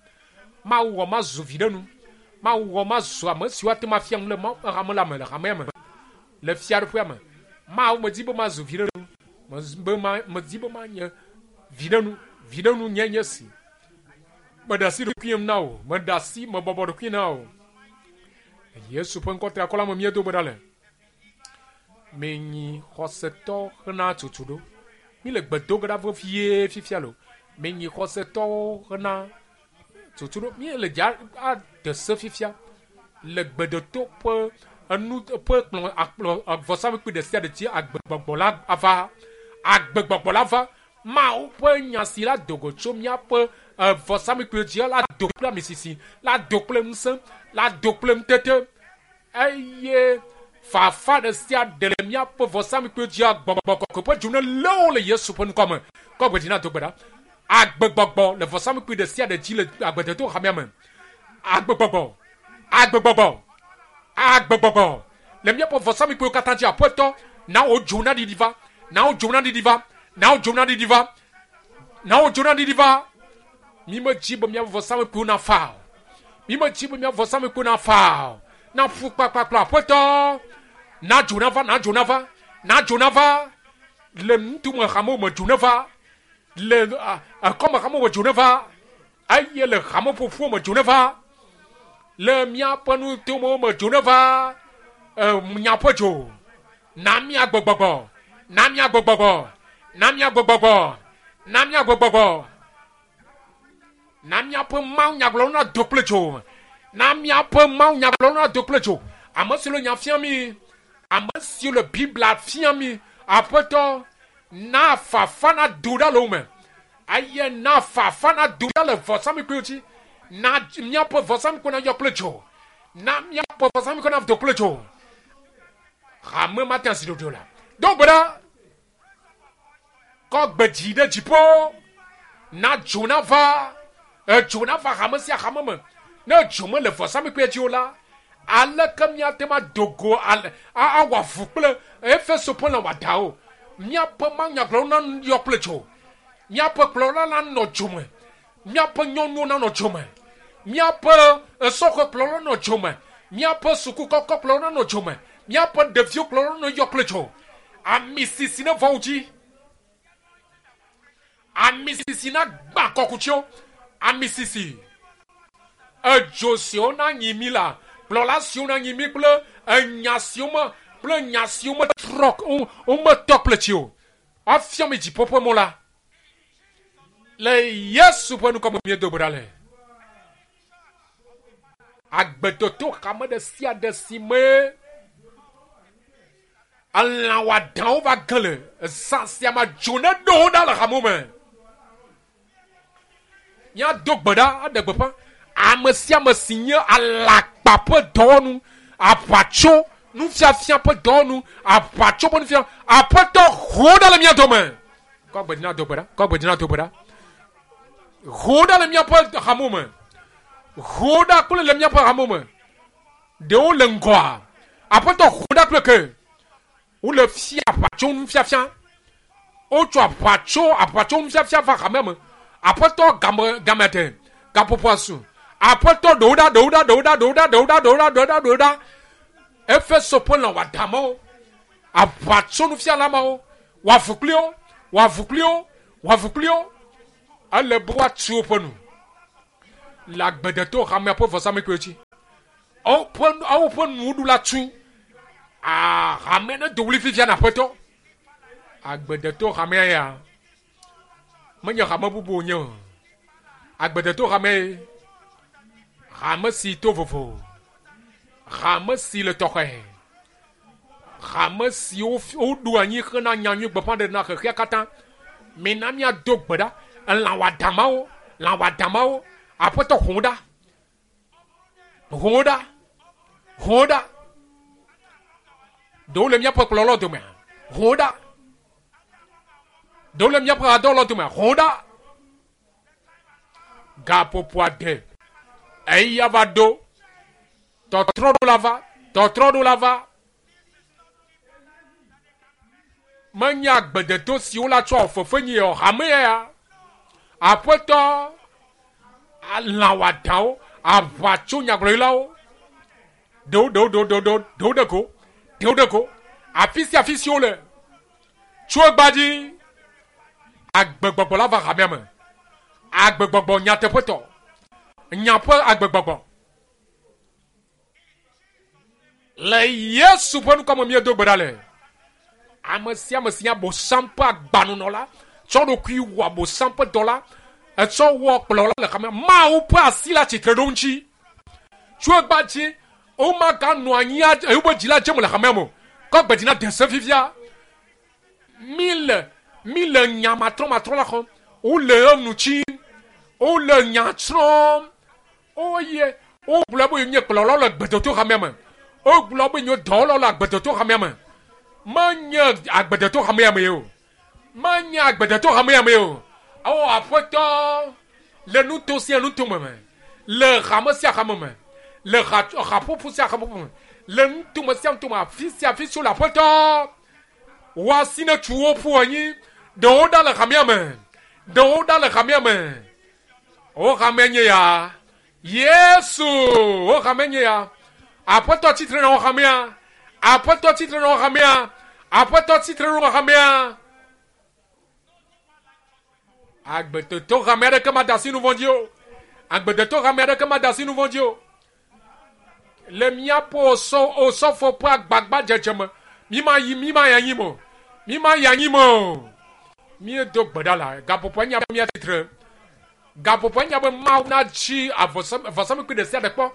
Mawu wɔ mazu viɖenu. Mawu wɔ mazu ame siwo ate ŋu afia nu le Mawu ƒe hame la me le hamea me. Le fiaɖuƒea me. Mawu medi be mazu viɖenu. Be ma medi be manye viɖenu. Viɖenu nye nye si. Meɖe asi ɖokuinyem na wò. Meɖe asi mebɔbɔ ɖokuinye na wò. Yesu ƒe ŋkɔ triakɔ la me míedo gbe ɖa le. Menyi xɔsetɔ hena tutu ɖo. Mi le gbe do ge ɖa vevie fifia lo. Menyi xɔsetɔwo hena tutu ɖo. Mi le dza ade se fifia le gbedoto ƒe enu ƒe kplɔ akplɔ vɔsamlekpui ɖe sia ɖe dzi agbegbɔgbɔ la ava. Agbegbɔgbɔ la va. Mawu ƒe nya si la do go tso míaƒe vɔsamlekpui dzi la do kple amisisi, la do kple ŋusẽ, la do kple ŋutete eye fafa ɖe sia ɖe le míaƒe vɔsamlekpui dzia gbɔgbɔ kɔkɔe ƒe dzo ne lé wo le Yesu ƒe ŋkɔ me. Kɔ gbe dzi na do gbe ɖa. Agbegbɔgbɔ le vɔsamlekpui ɖe sia ɖe dzi le agbedeto hamea me. Agbegbɔgbɔ, agbegbɔgbɔ, agbegbɔgbɔ le míaƒe vɔsamlekpuiwo katã dzi. Aƒetɔ, na wò dzo naɖiɖi va, na wò dzo naɖiɖi va, na wò dzo naɖiɖi va, na wò dzo naɖiɖi va. Mi medzi be míaƒe vɔsamlekpuiwo nafa o. Mi medzi be míaƒe vɔsamlekpuiwo nafa o. Naƒu kpakpakpla aƒetɔ. Na dzo nava, na dzo nava, na dzo nava. Le nutume hamewo me dzo neva. Le ekɔme hamewo me dzo neva. Eye le hame ƒoƒuwo me dzo neva. Le míaƒe nutomewo me dzo neva. Miaƒe dzo. Na míagbe gbɔgbɔ. Na míagbe gbɔgbɔ. Na míagbe gbɔgbɔ. Na míagbe gbɔgbɔ. Na míaƒe Mawu nyagblɔlawo nado kple dzo. Na míaƒe Mawu nyagblɔlawo nado kple dzo. Ame siwo le nya fia mí, ame siwo le Biblia fia mí, Aƒetɔ, na fafa nado ɖa le wo me. Eye na fafa nado ɖa le vɔsamlekpuiwo dzi. Na míaƒe vɔsamlekpui nayɔ kple dzo. Na míaƒe vɔsamlekpui nado kple dzo. Hame mate asi ɖoɖo la. Do gbe ɖa. Kɔ gbe dzi ɖe dziƒo. Na dzo nava. Edzo nava hame sia hame me. Ne dzo mele vɔsamlekpuia dzi o la, aleke míate ŋu ado go ale awɔ avu kple Efeso ƒe lã wɔadãwo? Míaƒe mawunyagblɔlawo nayɔ kple dzo. Míaƒe kplɔla nanɔ dzo me. Míaƒe nyɔnuwo nanɔ dzo me. Míaƒe sɔhɛ kplɔlawo nanɔ dzo me. Míaƒe suku kɔkɔ kplɔlawo nanɔ dzo me. Míaƒe ɖeviwo kplɔlawo nanɔ kple dzo. Ami sisi neva wo dzi. Ami sisi nagbã kɔkutsiwo. Ami sisi. Edzo siwo nanyi mí la, kplɔla siwo nanyi mí kple enya siwo me kple nya siwo metrɔ wometɔ kple tsi o. Woafia mi dziƒo ƒe mɔ la. Le Yesu ƒe ŋkɔ me míedo gbe ɖa le. Agbetoto hame ɖe sia ɖe si me elã wɔadãwo va ge le zã sia me dzo ne ɖo wo ɖa le hamewo me. Míado gbe ɖa aɖe gbeƒã ame sia ame si nye alakpa ƒe dɔwɔnu, aʋatso nufiafia ƒe dɔwɔnu, aʋatso ƒe nufiafia, aƒetɔ ho ɖa le mía dome. Kɔ gbe dzi na do gbe ɖa. Kɔ gbe dzi na do gbe ɖa. Ho ɖa le míaƒe hamewo me. Ho ɖa kple le míaƒe hamewo me. Ɖewo le ŋgɔa. Aƒetɔ ho ɖa kple ke. Wole fia aʋatso nufiafia. Wotsɔ aʋatso aʋatso nufiafia va hamea me. Aƒetɔ game game ɖe gaƒoƒoa su. Aƒetɔ ɖewo ɖa ɖewo ɖa ɖewo ɖa ɖewo ɖa ɖewo ɖa ɖewo ɖa ɖewo ɖa ɖewo ɖa. Efeso ƒe lã wɔadãmewo. Aʋatso nufiala mawo. Wɔ avu kpli wo, wɔ avu kpli wo, wɔ avu kpli wo. Ele be woatu woƒe nu. Le agbedeto hamea ƒe vɔsamlekpuiwo dzi. Woƒe nuɖuɖu la tu. Hame ne do ɣli fifia na Aƒetɔ. Agbedeto hamea ya menye hame bubu wònye o. Agbedeto hame ye. Hame si to vovo. Hame si le tɔxɛ. Hame siwo woɖo anyi hena nyanyui gbeƒãɖeɖe na xexea katã. Mina míado gbe ɖa. Elã wɔadamawo, lã wɔadamawo. Aƒetɔ ʋu wo ɖa. Ʋu wo ɖa. Ʋu wo ɖa. Ɖewo le míaƒe kplɔlawo domea? Ʋu wo ɖa. Ɖewo le míaƒe hadɔwɔlawo domea? Ʋu wo ɖa. Gaƒoƒo ade eya va ɖo. Tɔtrɔ ɖo la va. Tɔtrɔ ɖo la va. Menye agbedeto siwo la tsɔ fefe nyi o hame ya. Aƒetɔ lã wɔadawo, aʋatso nyagblɔɖilawo, ɖewo ɖewo ɖewo ɖewo ɖewo ɖewo ɖe go, ɖewo ɖe go. Afi sia afi si wole, tso egbea dzi, agbegbɔgbɔ la va hamea me. Agbegbɔgbɔ nyateƒetɔ, nya ƒe agbegbɔgbɔ. Le Yesu ƒe ŋkɔ me míedo gbe ɖa le. Ame sia ame si nye Abosam ƒe agbanunɔla, tsɔ ɖokui wɔ Abosam ƒe dɔla, etsɔ wɔ kplɔla le xame, Mawu ƒe asi le atsitre ɖo ŋuti. Tso egbea dzi, womaganɔ anyi eye woƒe dzi la dze me le hamea me o. Kɔ gbe dzi na de se fifia. Mi le, mi le nya matrɔmatrɔ la xɔm. Wole enu tsim. Wole nya srɔ̃m. Oye, wogblɔ be nye kplɔlawo le gbedoto hamea me. Wogblɔ be nye dɔwɔlawo le agbedoto hamea me. Menye agbedoto hamea me o. Menye agbedoto hamea me o. O Aƒetɔ, le nuto sia nuto me me, le hame sia hame me, le haƒoƒo sia haƒoƒo me, le nutome sia nutome, afi sia afi si wole Aƒetɔ, wò asi netu wo ƒu anyi. Ɖewo ɖa le hamea me. Ɖewo ɖa le hamea me. Wo hame nye ya. Yesu, wo hame nye ya. Aƒetɔ tsitre na wo hamea. Aƒetɔ tsitre na wo hamea. Aƒetɔ tsitre na wo hamea. Agbetɔtɔ hame aɖeke mada asi nu vɔ̃ dzi o. Agbetɔtɔ hame aɖeke mada asi nu vɔ̃ dzi o. Le míaƒe osɔfo ƒe agbagba dzedze me, mi ma yi, mi ma yi anyi me o. Mi ma yi anyi me o. Míedo gbe ɖa la, gaƒoƒoa nya be míatsitre. Gaƒoƒoa nya be Mawu natsi vɔsamlekpui ɖe sia ɖe kpɔ.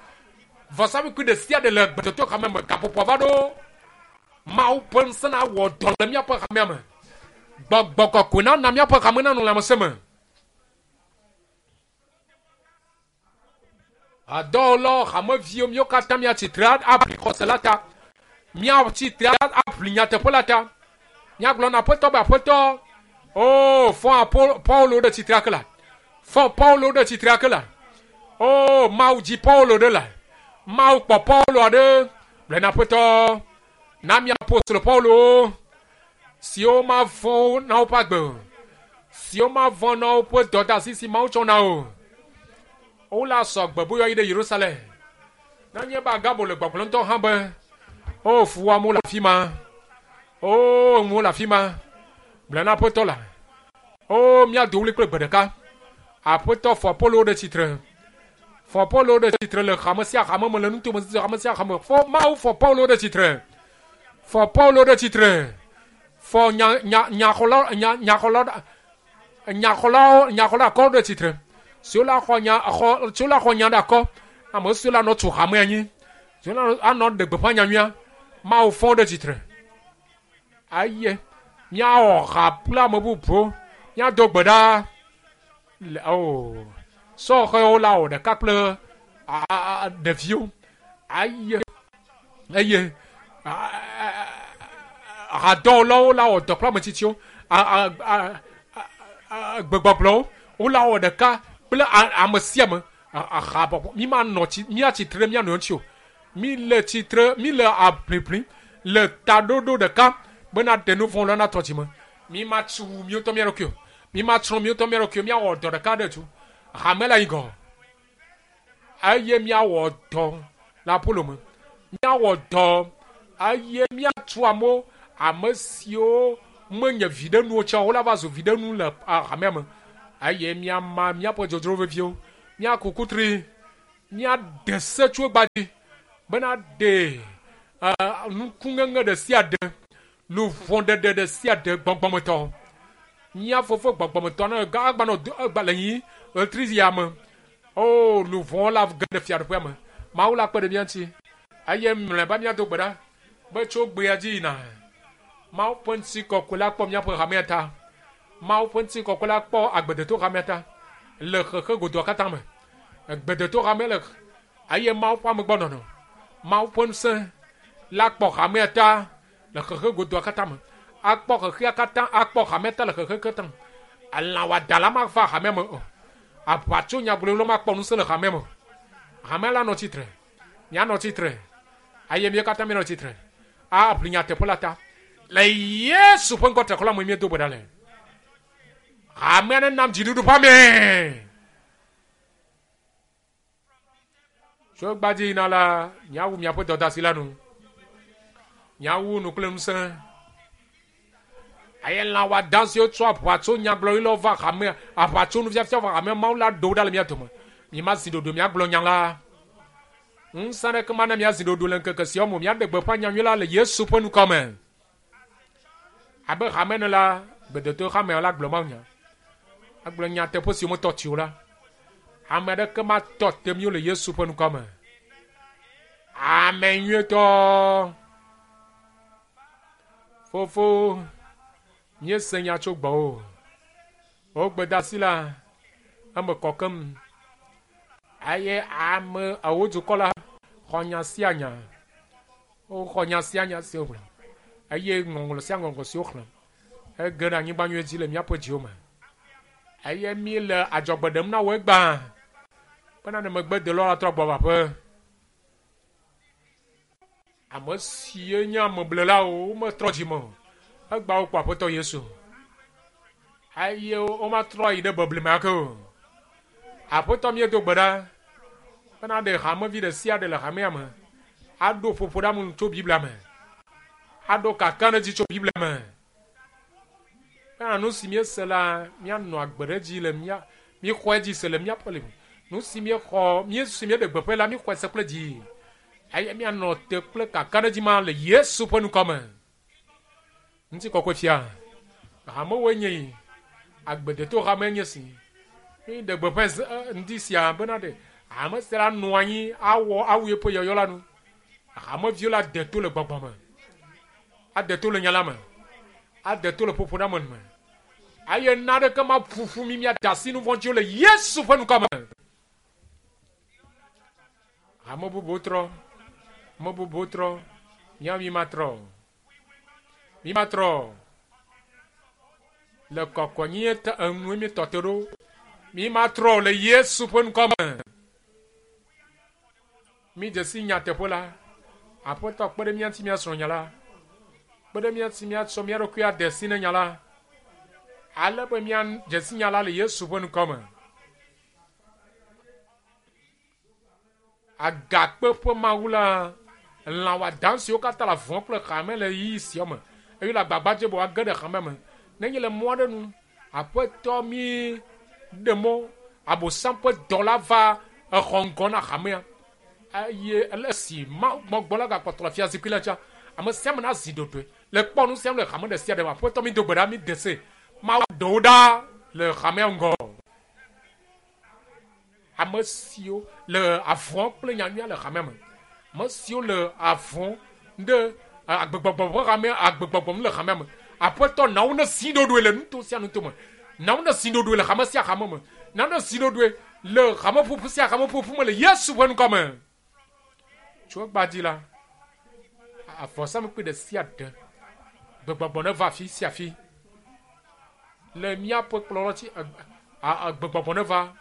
Vɔsamlekpui ɖe sia ɖe le gbetɔtɔ hame me. Gaƒoƒoa va ɖo. Mawu ƒe ŋusẽ nawɔ dɔ le míaƒe hamea me. Gbɔgbɔ kɔkɔe nana míaƒe hame nanɔ lãmesẽ me. Hadɔwɔlawo, hameviwo, míwo katã míatsi tre aʋli xɔse la ta. Míatsi tre aʋli nyateƒe la ta. Míagblɔ na Aƒetɔ be, Aƒetɔ, o, fɔ Paulo ɖe tsitre ake la. Fɔ Paulo ɖe tsitre ake la. O, Mawu dzi Paulo ɖe la. Mawu kpɔ Paulo aɖe. Gblɔ na Aƒetɔ, na mía apostolo Paulo siwo mavɔ̃ na woƒe agbe o, siwo mavɔ̃ na woƒe dɔdeasi si Mawu tsɔ na o. Wola sɔ gbe be woayi ɖe Yerusalem. Nenye be Agabo le gbɔgblɔm ŋutɔ hã be, O, fuwɔamewo le afi ma. O, enuwo le afi ma. Gblɔ na Aƒetɔ la. O, míado ɣli kple gbe ɖeka. Aƒetɔ fɔ Apolo ɖe tsitre. Fɔ Paulo ɖe tsitre le hame sia hame me le nutome hame sia hame. Fɔ Mawu fɔ Paulo ɖe tsitre. Fɔ Paulo ɖe tsitre. Fɔ nya nya nyaxɔla nya nyaxɔla nyaxɔlawo nyaxɔla akɔ ɖe tsitre. Siwo la xɔ nya xɔ siwo la xɔ nya ɖe akɔ. Ame siwo la nɔ tu hame anyi. Siwo la anɔ ɖe gbeƒã nyanyuia. Mawu fɔ ɖe tsitre. Aye míawɔ ha kple ame bubuwo. Míado gbe ɖa. Le o sɔhɛwo la wɔ ɖeka kple ɖeviwo aye eye hadɔwɔlawo la wɔ dɔ kple ame tsitsiwo gbegbɔgblɔwo wola wɔ ɖeka kple ame sia ame habɔbɔ mi ma nɔ tsi mía tsitre ɖe mía nɔewo ŋuti o mi le tsitre mi le aʋliʋlim le taɖoɖo ɖeka bena ɖe nu vɔ̃ la natrɔ dzi me mi ma tsu míwo ŋutɔ mía ɖokui o Mi ma tsrɔ̃ míwo ŋutɔ mía ɖokuiwo, míawɔ dɔ ɖeka ɖe tu hame la yi gɔ. Eye míawɔ dɔ le Apolo me. Míawɔ dɔ eye míatu amewo, ame siwo menye viɖenuwo tsã o, wola va zu viɖenu le hamea me. Eye míama míaƒe dzodzro veviwo. Míaku kutri, míade se tso egbea dzi bena ɖe nukuŋeŋe ɖe sia ɖe, luʋɔɖeɖe ɖe sia ɖe gbɔgbɔmetɔ. Mía fofo gbɔgbɔmetɔ ne agbanɔ egba le nyi ɣletri ya me. O luʋɔ la ge ɖe fiaɖuƒea me. Mawu la kpe ɖe mía ŋuti eye mlɔeba míado gbe ɖa be tso gbea dzi yina. Mawu ƒe ŋutikɔkɔe la kpɔ míaƒe hamea ta. Mawu ƒe ŋutikɔkɔe la kpɔ agbedeto hamea ta le xexe godoa katã me. Gbedeto hamea le eye Mawu ƒe amegbɔnɔnɔ, Mawu ƒe ŋusẽ la kpɔ hamea ta le xexe godoa katã me. Akpɔ xexea katã, akpɔ hamea ta le xexe katã me. Elã wɔadã la mava hamea me o. Aʋatso nyagblɔɖilawo makpɔ ŋusẽ le hamea me o. Hamea la nɔ tsitre. Mianɔ tsitre eye mía katã míanɔ tsitre aʋli nyateƒe la ta. Le Yesu ƒe ŋkɔ triakɔ la me míedo gbe ɖa le. Hamea nenam dziɖuɖu ƒe ame. Tso gbadzi yina la, miawu miaƒe dɔdeasi la nu. Miawu nu kple ŋusẽ. Eye lã wɔadã siwo tsɔ aʋatso nyagblɔɖilawo va hamea, aʋatso nufiafia va hamea, Mawu la ɖo wo ɖa le mía dome. Mimazi ɖoɖoe miagblɔ nya la. Ŋusẽ aɖeke mana miazi ɖoɖoe le ŋkeke siawo me o. Miaɖe gbeƒã nyanyui la le Yesu ƒe ŋkɔ me. Abe hame ene la, gbedodo hamea la gblɔ mawunya. Agblɔ nyateƒe siwo metɔ tsi o la. Ame aɖeke matɔ te mi o le Yesu ƒe ŋkɔ me. Ame nyuietɔ. Fofo, míese nya tso gbɔwò. Wò gbedeasi la, eme kɔ keŋ. Eye ame ewo dukɔ la xɔ nya sia nya. Woxɔ nya sia nya si wogblɔ eye ŋɔŋlɔ sia ŋɔŋlɔ si woxlẽ ege ɖe anyigba nyui dzi le míaƒe dziwo me. Eye míele adzɔgbe ɖem na wò egbea bena ne megbedelawo la trɔ gbɔ va aƒe. Ame sie nye ameblelawo wometrɔ dzi me o. Egbea wokpɔ Aƒetɔ Yesu eye womatrɔ yi ɖe beble me ake o. Aƒetɔ míedo gbe ɖa bena ɖe hamevi ɖe sia ɖe le hamea me aɖo ƒoƒo ɖe ame tso Biblia me, aɖo kakaɖedzi tso Biblia me. Bena nu si míese la, míanɔ agbe ɖe edzi le mía, míexɔe dzi se le míaƒe le nu si míexɔ, mí si míeɖe gbeƒãe la, míexɔe se kple dzi eye míanɔ te kple kakaɖedzi ma le Yesu ƒe ŋkɔ me. Ŋutikɔkɔe fia, hamewoe nye yi, agbedeto hame nye si. Míɖe gbeƒãe ze ŋdi sia bena ɖe hame sia la nɔ anyi awɔ awu yeƒe yɔyɔ la nu. Hameviwo la de to le gbɔgbɔ me, ade to le nya la me, ade to le ƒoƒoɖeame me. Eye naɖeke maƒuƒu mi miade asi nu vɔ̃ dziwo le Yesu ƒe ŋkɔ me. Ame bubuwo trɔ, ame bubuwo trɔ, míawo mi matrɔ o. Mi matrɔ o. Le kɔkɔnyenye ta enue míetɔ te ɖo. Mi matrɔ o le Yesu ƒe ŋkɔ me. Mídze si nyateƒe la. Aƒetɔ kpe ɖe mía ŋuti míasrɔ̃ nya la. Kpe ɖe mía ŋuti míatsɔ mía ɖokui ade si ne nya la. Ale be míadze si nya la le Yesu ƒe ŋkɔ me. Agakpe ƒe Mawu la, lã wɔadã siwo katã le avɔ kple xame le ɣeyiɣi sia me eye wole agbagba dzem be woage ɖe xamea me. Nenye le mɔ aɖe nu, Aƒetɔ mi ɖe mɔ Abosam ƒe dɔla va exɔ ŋgɔ na hamea eye ele esi Mawu gbɔgbɔ la gakpɔtɔ le fiazikpui la dzia, ame sia ame nazi ɖoɖoe le kpɔ nu sia nu le hame ɖe sia ɖe me. Aƒetɔ mi do gbe ɖa mi de se Mawu ɖe wo ɖa le hamea ŋgɔ. Ame siwo le avɔ kple nyanyuia le hamea me, ame siwo le avɔ ɖe agbegbɔgbɔ ƒe hamea, agbegbɔgbɔ nu le hamea me. Aƒetɔ, na wo ne zi ɖoɖoe le nuto sia nuto me. Na wo ne zi ɖoɖoe le hame sia hame me. Na wo ne zi ɖoɖoe le hameƒoƒu sia hameƒoƒu me le Yesu ƒe ŋkɔ me. Tso egbea dzi la, avɔsamlekpui ɖe sia ɖe, gbegbɔgbɔ neva afi sia afi. Le míaƒe kplɔlɔ dzi, agbegbɔgbɔ neva.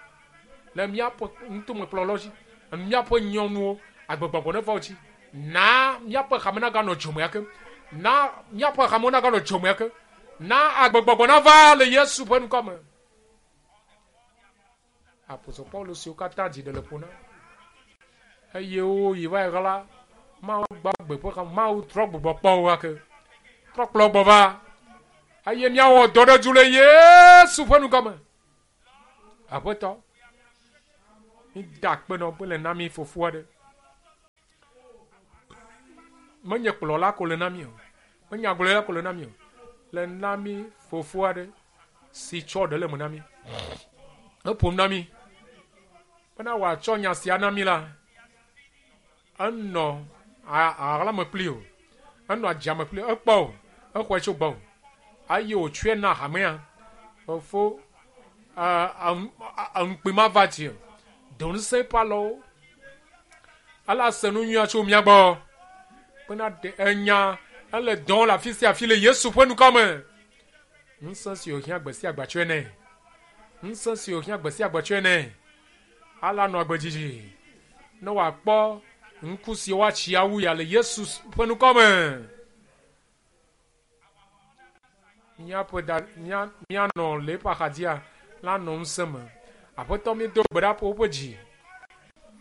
Le míaƒe nutomekplɔlɔ dzi, míaƒe nyɔnuwo, agbegbɔgbɔ neva wo dzi. Na míaƒe hame naganɔ dzome ake. Na míaƒe hamewo naganɔ dzome ake. Na agbegbɔgbɔ nava le Yesu ƒe ŋkɔ me. Apostol Paulo siwo katã dzi ɖe le ƒo na eye woyi va yi ɣla Mawu gbagbe ƒe xa Mawu trɔ gbugbɔ kpɔ wo ake. Trɔ kplɔ gbɔ va eye míawɔ dɔ ɖe du le Yesu ƒe ŋkɔ me. Aƒetɔ, Mi da akpe nɔ be le na mi fofo aɖe. Menye kplɔla ko le na mi o. Menye agblɔla ko le na mi o. Le na mi fofo aɖe si tsɔ ɖe le me na mi. Eƒom na mi bena wòatsɔ nya sia na mi la, enɔ aɣlame kpli o, enɔ adzame kpli o, ekpɔ o, exɔe tso gbɔ o. Eye wòtsɔe na hamea. Fofo, ŋukpe mava dzi o. Do ŋusẽ eƒe alɔwo. Ele ase nu nyuia tso mía gbɔ. Bena ɖe enya ele dɔm le afi sia afi le Yesu ƒe ŋkɔ me. Ŋusẽ si wòhiã gbe sia gbe tsɔe nɛ. Ŋusẽ si wòhiã gbe sia gbe tsɔe nɛ. Ala nɔ agbe dzidzi. Ne wòakpɔ ŋku si woatsi awu ya le Yesu ƒe ŋkɔ me. Míaƒe da mía míanɔ le eƒe axadzia la nɔ ŋusẽ me. Aƒetɔ míedo gbe ɖa ƒo woƒe dzi.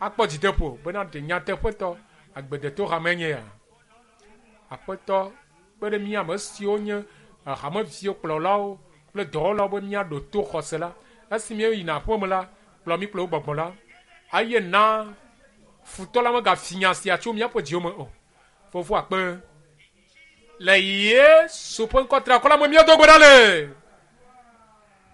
Akpɔ dzideƒo bena ɖe nyateƒetɔ agbedeto hame nye ya. Aƒetɔ kpe ɖe mía ame siwo nye hameviwo kplɔlawo kple dɔwɔlawo be míaɖo to xɔse la. Esi míeyina aƒeme la, kplɔ mí kple wo gbɔgbɔ la. Eye na futɔ la megafi nya sia tso míaƒe dziwo me o. Fofo akpe. Le Yesu ƒe ŋkɔ triakɔ la me míedo gbe ɖa le.